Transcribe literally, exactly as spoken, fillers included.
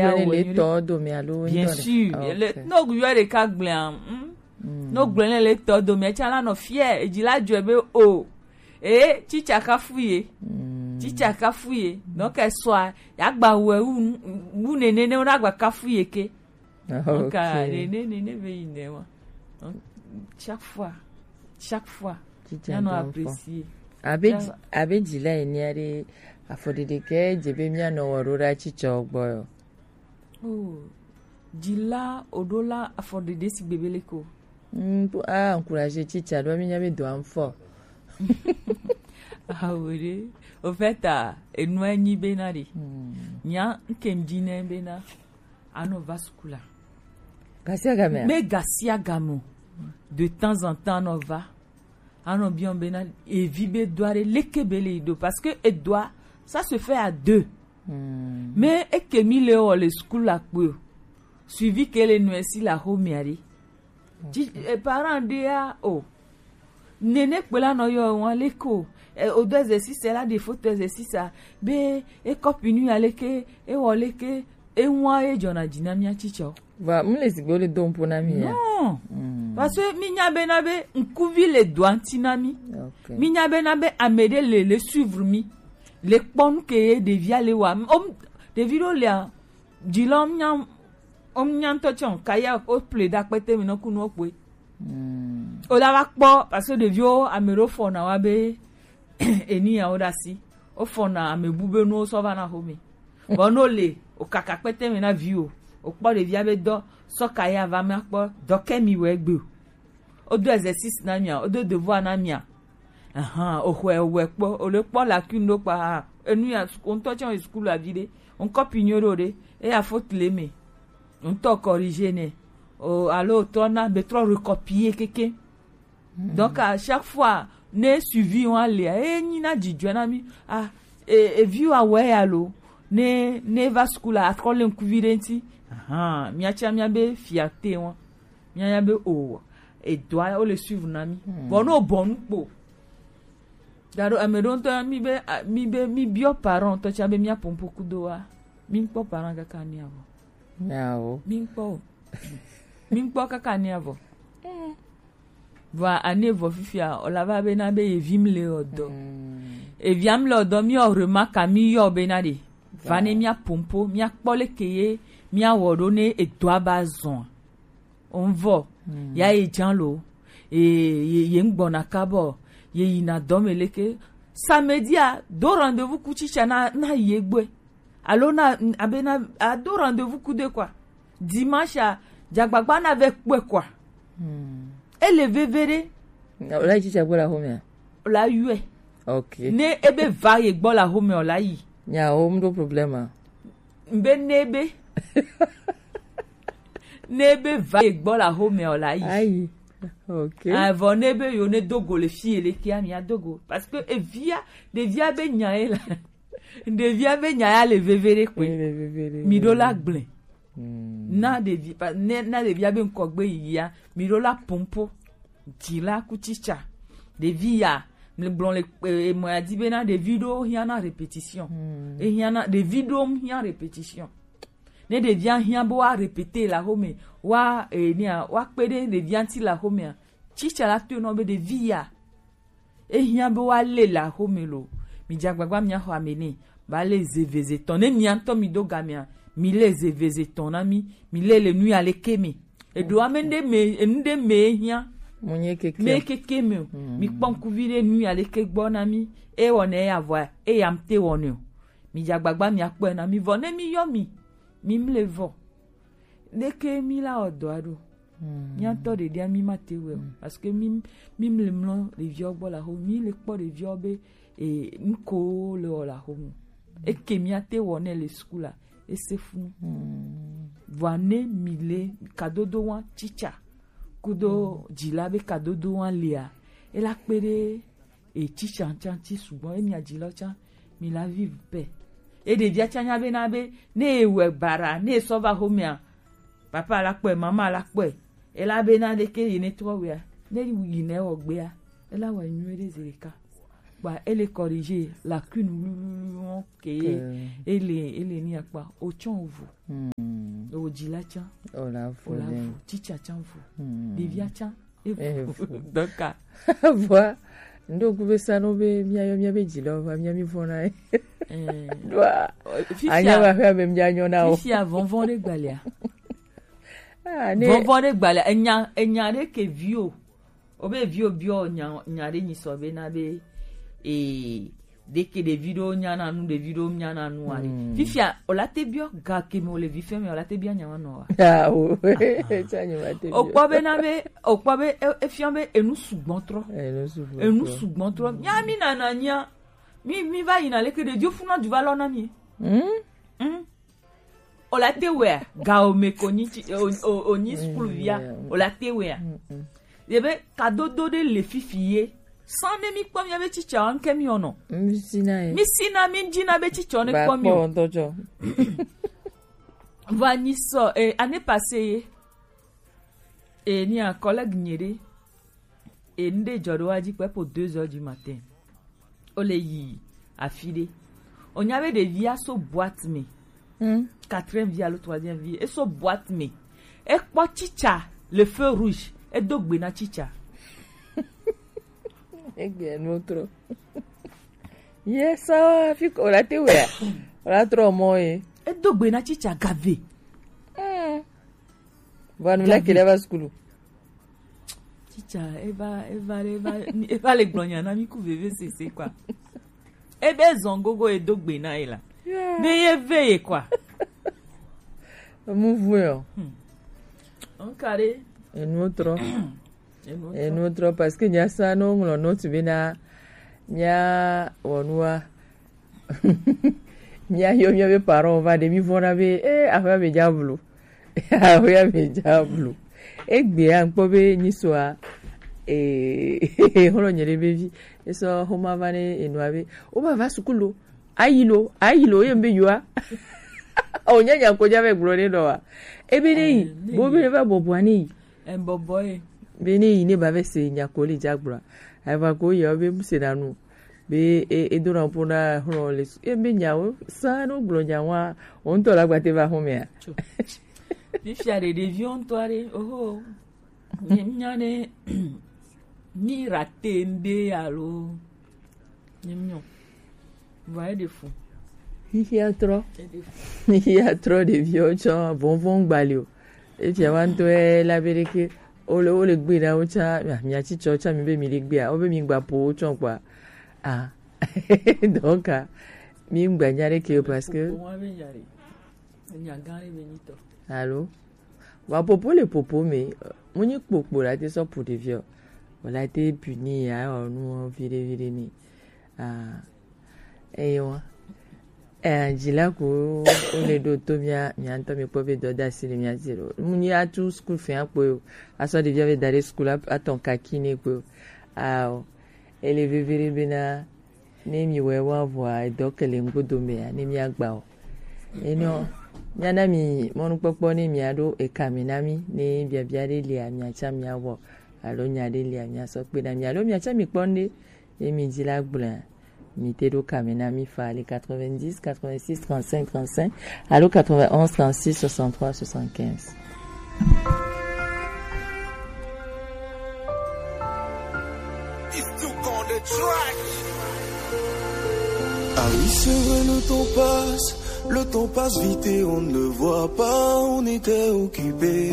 Yɔ ne le tɔ dome alo bien sûr. Le no yɔ ɖeka gblẽa, hmm? No gblẽ ne le tɔ dome, etsa la nɔ fier, edzi la dzɔe be o. E tsitsa kafu ye. Tsitsa kafu ye. Donc esɔa ya gba wɛ wu wu nene ne wona gba kafu ye ke. Donc nene nene be yi ne wa. Donc chaque fois, chaque fois, ya nɔ apprécier. Abe abe dzila enea ɖe, afɔɖeɖe ke dze be mía nɔ wɔ ɖo ɖa tsitsɔ gbɔ yɔ. Oh, dzila oɖo la afɔɖeɖe si gbebe le ko. Mm, a encourager tsitsa ɖo mi nya be do am fɔ. Awo ɖe. Au fait, ah, enua nyi bena ɖe. Nya nke ŋdi ne bena anɔ va sukula. Gasia game. Me gasia game. De temps en temps anɔ va. Anɔ biɔ bena evi be doa ɖe leke be le do parce que edoa ça se fait à deux. Mais eke mi le wɔ le school la kpe o. Suivi ke le nɔe si la xomea ɖe. Parent ɖea o. Nene kpe la nɔ yɔ wan leke o. O do exercice la ɖe foto exercice a be e copie nu ya leke, e wɔ leke, e wan e dzɔna dzi na mía tsitsɔ. Va mu le sigbe le do ŋpo na mi ya. Non. Parce que mi nya be na be ŋkuvi le doa ŋti na mi. Mi nya be na be ame ɖe le le suivre mi. Le kpɔ nu ke ye ɖevia le wa. Om ɖevi ɖo le a dzi lɔ nya om nya ŋtɔ tsɔ kaya o ple da kpete mi nɔ kunu o kpoe. O la va kpɔ parce que ɖeviwo ame ɖewo fɔna wa be eni ya wo ɖe asi. Wo fɔna ame bu be nuwo sɔ va na xome. Bon no le o kaka kpete mi na vi o. O kpɔ ɖevia be dɔ sɔ kaya va mi akpɔ dɔ ke mi wɛ gbe o. O do exercice na mia, o do devoir na mia. Ahan, o xɔe o wɛ kpɔ, o le kpɔ lacune ɖo kpa ha. Enu ya o ŋtɔ tsɔ yi school avi ɖe. O ŋkɔ pinyo ɖo ɖe. E ya faute le me. O ŋtɔ corriger nɛ. O alo o trɔ na be trɔ recopier keke. Donc à chaque fois ne suivi wa le e nyi na dzidjɔe na mi. Ah, e, e vi wa wɛ ya lo. Ne ne va school a trɔ le ŋkuvi ɖe ŋti. Ahan, mia tsa mia be fierté wa. Mia ya be o edoa wo le suivre na mi. Bon no bon kpo. Gado ame ɖo ŋtɔ mi be mi be mi biɔ parent tɔ tsa be mia pompo kudo wa. Mi kpɔ parent kaka ni avɔ. Nyawo. Mi kpɔ o. Mi kpɔ kaka ni avɔ. Vɔa ane vɔ fifia o la va be na be ye vi mi le ɔdɔ. Evia mi le ɔdɔ mi o remarque mi yɔ be na de. Va ne mia pompo mia kpɔ le ke ye mia wɔ ɖo ne edoa ba zɔn. Onvɔ ya ye jan lo. E ye ye ŋgbɔna kabɔ ye yina dɔme leke. Samedi a do rendez-vous ku tsitsa na na ye gbɔe. Alo na abe na a do rendez-vous ku de quoi. Dimanche a dzagbagba na ve kpɔe quoi. Ele veve ɖe. O la yi tsitsa gbɔ la xomea? O la yɔe. Ok. Ne ebe va ye gbɔ la xomea o la yi. Nya o mu ɖo problème a. Mbe ne ebe ne ebe va ye gbɔ la xomea o la yi. Ayi. Ok. Avɔ ne be yo ne dogo le fi ele kia mi adogo parce que evia ɖevia be nya ye la. Ɖevia be nya ya le veve ɖe kpe. Mi ɖo la gblẽ. Na ɖevi pa- ne na ɖevia be ŋkɔgbe yiyia mi ɖo la pompo. Dzi la ku tsitsa. Ɖevi ya mi gblɔ le emɔ ya di be na ɖevi ɖo hiã na répétition. Ehiã na ɖevi ɖo hiã répétition. Ne ɖevia hiã be wa répéter la xome wa enia wa kpe ɖe ɖevia ŋti la xomea. Tsitsa la to nɔ be ɖevi ya ehiã be wa le la xome lo. Mi dza gbagba mia xɔ ame ne ba le zeveze tɔn ne mia ŋtɔ mi do gamea mi le zeveze tɔn na mi. Mi le le nu ya le ke me eɖo ame ɖe me enu ɖe me ehiã. Mo nye keke me keke me o. Mi kpɔ ŋkuvi ɖe nu ya le ke gbɔ na mi. E wɔ ne ya vɔ e ya ŋte wɔ ne o. Mi dza gbagba mia kpɔe na mi vɔ ne mi yɔ mi mi mle vɔ. Leke mi la wɔ dɔa ɖo? Mia ŋtɔ ɖeɖia mi ma te wɛ o parce que mi mi mle mlɔ ɖeviɔ gbɔ la xo mi le kpɔ ɖeviɔ be e nuko le wɔ la xo mu. Eke mia te wɔ ne le school a ese funu. Vɔa ne mi le kadodo wa tsitsa kudo dzila be kadodo wa lea ela kpe ɖe e tsitsa ŋtsa ŋti sugbɔ emi adzilɔ tsa mi la vive paix. E ɖevia tsa nya be na be ne e wɛ bara ne e sɔ va xomea papa la kpɔe mama la kpɔe ela be na ɖeke yi ne trɔ wea ne yi ne wɔ gbea ela wɔ nyuie ɖe zi ɖeka. kpa, ele corriger lacune wluwluwlu ke, ele, ele ni akpa, o tsɔn o vo. Hmm. O dzi la tsã. O la vo. O la vo. Tsitsa tsã vo. Hmm. Ɖevia tsã. E vo. Donc, a. Vɔa, ndo ku be sa no be mia yo mia be dzi lɔ va mia mi vɔ na. Eh. Ɖoa. Anya va hwe be mia nyɔ na o. Fifia vɔvɔ ɖe gbalea. Ah, ne. Vɔvɔ ɖe gbalea. Enya, enya ɖe ke vi o. O be vi o biɔ nya, nya ɖe nyi sɔ be na be, eh, ɖeke ɖevi ɖewo nyana nu, ɖevi ɖewo nyana nu aɖe. Hmm. Fifia, o la te biɔ ga ke me o le vi fɛn me, o la te biɔ nya ma nɔ wa? Ah, o. Tsa nyi ma te biɔ. O kpɔ be na be, o kpɔ be, e, e fiɔ be enu sugbɔ trɔ. Enu sugbɔ trɔ. Enu sugbɔ trɔ. Nya mi nana nya. Mi, mi va yina leke ɖeviwo funa du va lɔ na mi. Hmm? Hmm? O la te wea, ga o me ko nyi tsi, o, o, o nyi skul via, o la te wea. Mm, mm. Ye be kadodo ɖe le fifi ye. San ne mi kpɔ mia be tsitsa wa nke mi ono. Mi si na ye. Mi si na mi dzi na be tsitsa ne kpɔ mi o. Ba kpɔ ŋutɔ tsɔ. Va nyi sɔ, eh, année passée ye. Eh, ni a collègue nye ɖe. Et ŋɖe dzɔ ɖo wa dzi kpe po deux heures du matin. O le yi afi ɖe. O nya be ɖevia so boîte me. Hmm. Quatrième vie alo troisième vie. E so boîte me. E kpɔ tsitsa le feu rouge. E do gbe na tsitsa. Egbe no trɔ. Ye sa fi ko la te wea. La trɔ mɔ ye. E do gbe na tsitsa gave. Hmm. Vanu la kele va skulu. Tsitsa, eva, eva, eva, eva le gblɔ nya na mi ku veve sese kwa. Ebe zɔn gogo edo gbe na ye la. Yeah. Be ye ve ye kwa. Mu vu yo. Hmm. Onkare. Enu trɔ. Enu trɔ. Enu trɔ parce que nya sa no ŋlɔ note be na nya wɔnua. Mia yo mia be parents va ɖe mi vɔna be, eh, aƒea me dza blu. Aƒea me dza blu. Egbea ŋkpɔ be nyi soa, eh, xlɔ nye ɖe be vi. Esɔ xoma va ne enua be, o ba va sukulu. Ayi lo, ayi lo, ye be yoa. O nya nya ko dza be gblɔ ne nɔ wa. Ebe ne yi, eh, ne bo yi. Be ne va bɔbɔa ne yi. Embɔbɔ ye. Be ne yi ne ba be se nya ko le dza gblɔ. Ava ko ye o be mu se na nu. Be e, e dona ƒo na xlɔ le su. E be nyawo sa no gblɔ nyawoa, o ŋutɔ la gbate va xɔmea. Tso. Fifia ɖe ɖeviwo ŋutɔ aɖe, oho. Nye nya ne mi rate ŋɖe alo nye mi nyɔ. Vɔ eɖe fu. Xixia trɔ. Eɖe fu. Xixia trɔ ɖeviwo tsɔ vɔnvɔn gbali o. Efia wa ŋutɔ la be ɖeke. Wole, wole gbe na wo tsã, mia, mia tsi tsɔ tsã mi be mi le gbea, wo be mi gba po wo tsɔ kpɔa. Ah. Donc, ah, mi gba nya ɖe ke o parce que. Popo wa be nya ɖe. Nya gã ɖe be nyi tɔ. Allô? Wa popo le popo me, mu nyi kpokpo la te sɔ pu ɖevi o. Wala te puni ya o nu viɖe viɖe ni. Ah. Eyo. Eh, dzila ko wo le ɖo to mia, mia ŋutɔ mi kpɔ be dɔdasi le mia dzi lo. Mu nyi atu school fee akpɔ yo. Asɔ ɖevia be da ɖe school a-, atɔ kaki ne kpɔ yo. Ao. Ele vevere bena ne mi wɛ wa vɔa edɔ kele ŋgodo mea, ne mi agba o. Enɔ, mia na mi mɔnukpɔkpɔ ne mia ɖo eka me na mi, ne biabia ɖe lia mia tsa mia wɔ. Alo nya ɖe lia mia sɔ kpe na mi. Alo mia tsa mi kpɔ ŋɖe. Ye mi dzi la gblɔa, mi te ɖo ka me na mi fa le quatre-vingt-dix, quatre-vingt-six, trente-cinq, trente-cinq, alo quatre-vingt-onze, trente-six, soixante-trois, soixante-quinze. Ah oui, c'est vrai, le temps passe, le temps passe vite et on ne le voit pas, on était occupé.